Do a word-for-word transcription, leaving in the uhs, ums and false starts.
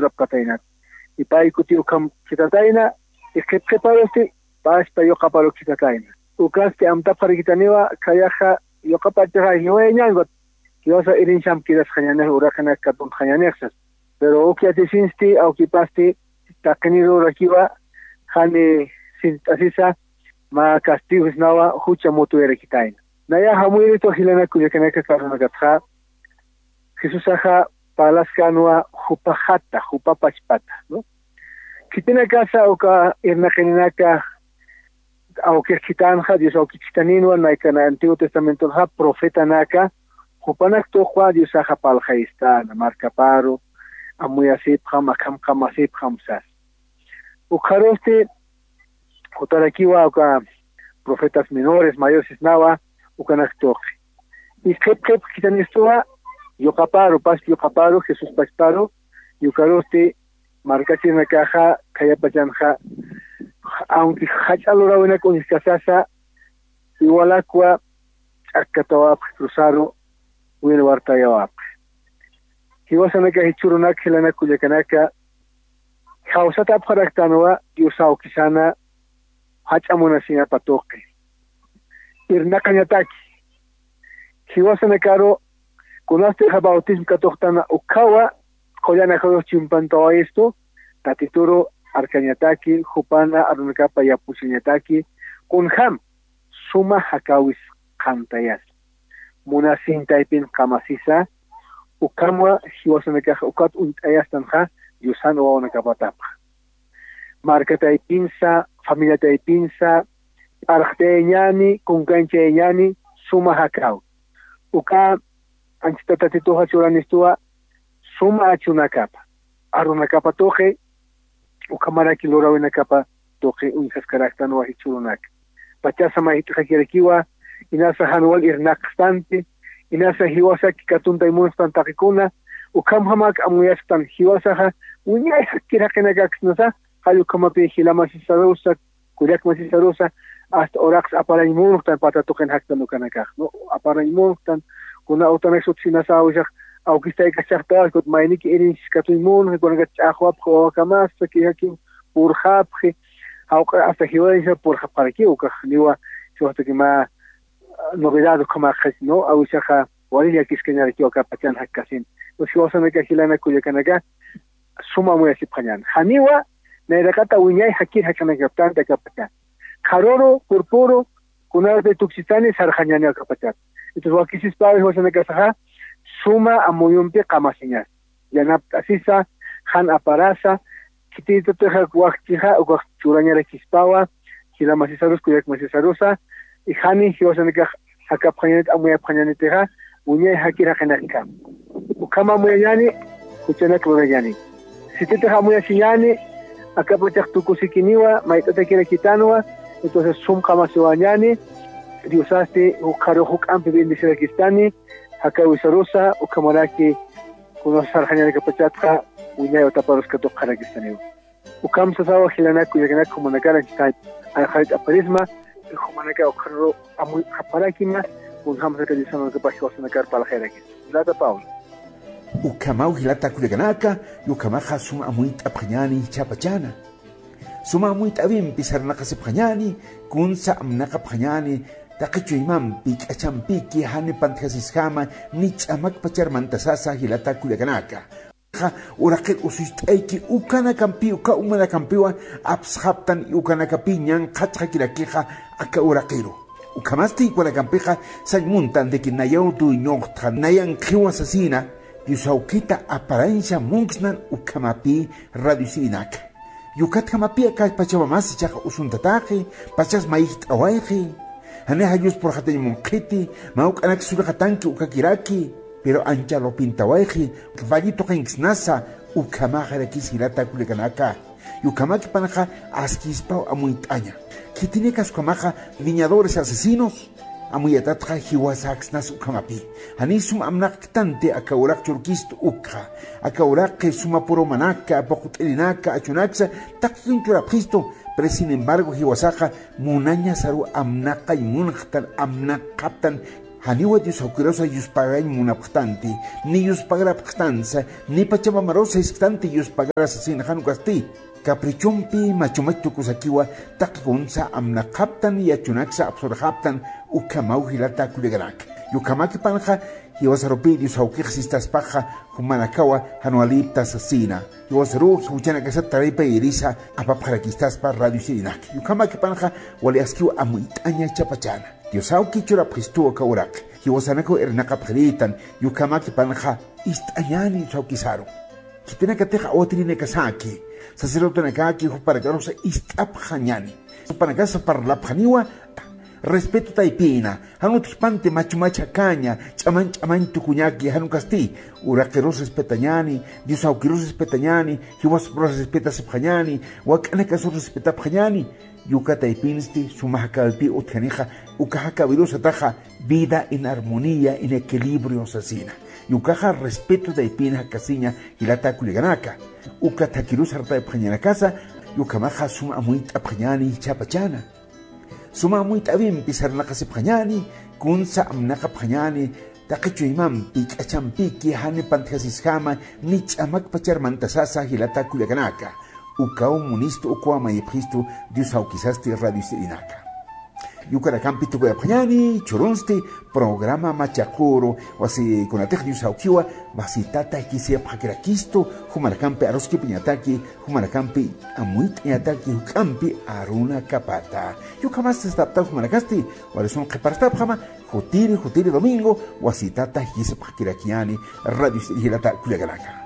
Apkatayna. Y pay kuti ukham khitatayna, y qhipqhiparusti paspa yuqaparu khitatayna. Ukasti amtapxarakitaniwa, khayaxa yuqapachaxa jiwayañanwa, jiwasa irincham kirasxañanix, uraqinak katuntxañanixsas. Pero uk yatisinsti, awkipasti taqiniru rakiwa, jani sint'asisa, mä castigo sisnawa, jucha mutuyarakitayna. Nayax amuyiritu jilanak kullakanaka karunakatxa, Jesusaxa parlaskänwa jupajata, jupapachpata, ¿no? Khitinakasa uka irnaqininaka awkix khitänxa, Dios awkix khitaninwa, naykana Antiguo Testamentonxa profetanaka, jupanak tuqwa Diosaxa parlxayistäna, markaparu, amuyasipxam, akham qamasipxam sas. Ukxarusti, jutarakiwa uka profetas menores, mayores sisnawa, ukanak tuqi. Y qhip qhip khitanistuwa, yuqaparu, paspa yuqaparu, Jesús pachparu, y ukarusti, markachirinakaxa, khayapachanxa, aunque jach'a luräwinak uñjkasasa, igualakwa ch'akkatawapxi cruzaru, wilwartayawapxi. Jiwasanaka jichhürunak jilanak kullakanaka, jawsatapxaraktanwa Dios awkisana jach'a munasiñapa tuqi. Irnaqañataki. Jiwasanakaru kunasti bautismo katuqtana ukhawa, qullan ajayux chimpantawayistu, Tatituru arkañataki, jupana arunakapa yapuchañataki, kunjam, suma jakäwis qhantayasa. Munasiñ taypin qamasisa, ukhamwa jiwasanakax ukat uñt'ayastanxa, Diosan wawanakapatapxa. Marka taypinsa, familia taypinsa, p'arxtayañäni, kunkanchayañäni, suma jakäwi. Uka anchhita Tatituxa churanistuwa, suma achunakapa, arunakapa tuqi, ukhamaraki luräwinakapa tuqi uñjaskaraktanwa jichhürunaka. Pachasa mayjt'xakirakiwa, inasa jan wal irnaqstanti, inasa jiwasaki katuntay munxtan taqikuna, ukhamjamak amuyasktan jiwasaxa, wiñay jakir jaqinakaksnasa, jall ukhamapï jila masisarusa, kullak masisarusa, hasta uraqsa aparañ munxtan pata tuqin jaktan ukanakax, ¿no? Aparañ munxtan, kuna utanak sutsinasa awisax, awkistaykachaxtawa, kut mayniki irinchis katuñ munxi, kunaka ch'axwapxi, wawakamasa, kïjaki purxapxi, jawq'a hasta jiwayañsa purxapxaraki, ukax niwa, jiwastaki mä novedad ukhamäxi, ¿no? Awisaxa, wali llakiskañarakiwa aka pachan jakkasin. Pues jiwasanaka jilanak kullakanaka, suma amuyasipxañäni. Janiwa, nayraqata wiñay jakir jaqinakaptänti aka pachan. Qharüru, purpüru, kunarati tukchistani sarxañäniwa aka pachat. Entonces, wakisispäwi jiwasanakasaxa, suma amuyumpi qamasiñas. Yanapt'asisa, jan aparasa, khititutixa wakchixa, ukax churañarakispawa, jila masisarus, kullak masisarusa, y jani jiwasanakax jakapxañanit, amuyapxañanitixa, wiñay jakir jaqinakjam. Ukham amuyañäni, juchanak lurañäni. Sititix amuyasiñäni, aka pachax tukusikiniwa, mayt'atakirakitanwa, entonces sum qamasiwañäni, Diosasti, jukxaru juk'ampi bendecirakistani, jakäwisarusa, ukhamaraki, kuna sarxañarakapachatxa, wiñay utaparus katuqxarakistaniwa. Ukham sasawa jilanak kullakanaka jumanakar anchhita, ayxarit aparisma, jumanaka ukxaru amuy qhaparakima, kunjamsa aka Diosanakapax jiwasanakar parlxayarakista. Jilata Pablo. Ukhamaw jilata kullakanaka, ukhamaxa suma amuyt'apxañäni jichhapachana. Suma amuyt'äwimpi sarnaqasipxañäni, kunsa amnaqapxañäni, taqi chuymampi, k'achampiki, jani pantjasisjama, ni ch'amakpachar mantasasa jilata kullakanaka. Qa uraqir usucht'ayki ukanakampi, uka umanakampiwa apsxaptan y ukanakapi ñanqhatxakirakixa aka uraqiru. Ukhamasti ukanakampixa sañ muntan de que nayaw dueñoxtxa, nayan qhiwa sasina, Dios awkita aparañsa munksnan ukhamapï radio sirinaka. Yukatjamapï aka pachamamasa ichaxa usuntataqi, pachas mayjt'awayxi. Janixa Dios purxatañ munqhiti, mä uk'anak sullxatanki ukakiraki, pero ancha lupintawayxi, valli tuqinksnasa, ukhamaxarakis jilata kullakanaka. Yukhamakipanaxa askispaw amuyt'aña. Khitinikas ukhamaxa viñadores asesinos, amuyatatxa jiwasaksnas ukhamapï. Janiy sum amnaqktanti aka uraq churkistu ukxa. Aka uraqi suma purumanaka, puqt'irinaka, achunaksa, taqi churapxistu. Pero sin embargo, jiwasaxa munañasaru amnaqañ munxtan, amnaqaptan, Janiwa Dios awkirusa yuspagañ munapxtanti, ni yuspagrapxtansa, ni pachamamarusa isktanti yuspagrasa sina jan ukasti. Caprichompi machumach tukusakiwa taqi kunsa amnaqaptan yachunaksa apsurxaptan ukhamaw jilata kullakanaka. Yukhamäkipanxa jiwasarupi Dios awkix sistaspaxa jumanakawa jan walipta sasina. Jiwasaruw jiwchanakasat taripayirisa apapxarakistaspa radio sirinaka. Yukhamäkipanxa wali askiw amuyt'aña chapachana. Dios awki churapxistuw aka uraqi. Jiwasanakaw irnaqapxiritan, yukhamäkipanxa ist'añäni Dios awkisaru. Khitinakatix awatirinakasaki, sacerdotenakaki jupanakarusa ist'apxañäni. Jupanakasa parlapxaniwa respeto taypina, jan utjpanti machumach jakaña, ch'amañ ch'amañ tukuñaki jan ukasti. Uraqirus respetañäni, Dios awkirus respetañäni, jiwasparusa respetasipxañäni, wak'anakasurus respetapxañäni. Yuka taypinsti suma jakawipï utjanixa, uka jakawirusataxa vida en armonía, en equilibrio sasina. Yukaxa respeto taypin jakasiña jilata kullakanaka. Uka thakirus sartayapxañanakasa, yukhamaxa suma amuyt'apxañäni chapachana. Suma amuyt'awimpi sarnaqasipxañäni, kunsa amnaqapxañäni, taqi chuymampi k'achampiki jani pantjasisjama, ni ch'amakpachar mantasasa jilata kullakanaka. Ukaw munistu, ukaw mayipxistu Dios awkisasti radio sirinaka. Yukanakampi tukuyapxañäni, churunsti programa Machaquru, wasikunatix Dios awkiwa, wasitata jikisipxakirakistu, jumanakampi aruskipañataki, jumanakampi amuyt'añataki, juk'ampi arunakapata. Yukhamasti saptaw jumanakasti, wali sun qhiparstapxama, jutiri, jutiri domingo, wasitata jikisipxakirakiñäni, radio jilata kullakanaka.